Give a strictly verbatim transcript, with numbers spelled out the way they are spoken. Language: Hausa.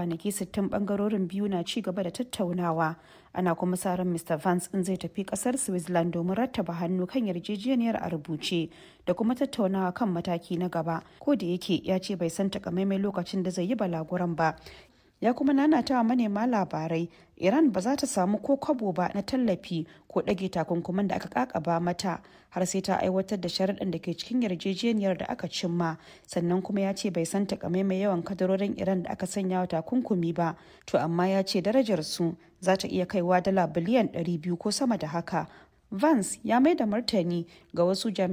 Kwanaki sittin bangarorin biyu na ci gaba da tattaunawa, ana kuma sa ran Mister Vance ɗin zai tafi kasar Switzerland domin rattaba hannu kan yarjejeniyar a rubuce da kuma tattaunawa kan mataki na gaba, kodayake ya ce bai san takamaiman lokacin da zai yi balaguron ba. Ya kuma nanatawa manema labarai Iran ba za ta samu ko kwabo ba na tallafi ko ɗage takunkuman da aka kakaba mata har sai ta aiwatar da sharuɗan da ke cikin yarjejeniyar da aka cimma. Sannan kuma ya ce bai san takamaiman yawan kadarorin Iran da aka sanya wa takunkumi ba, to amma ya ce darajar su za ta iya kaiwa dala biliyan ɗari biyu ko sama da haka. Vance ya mai da martani ga wasu jami'an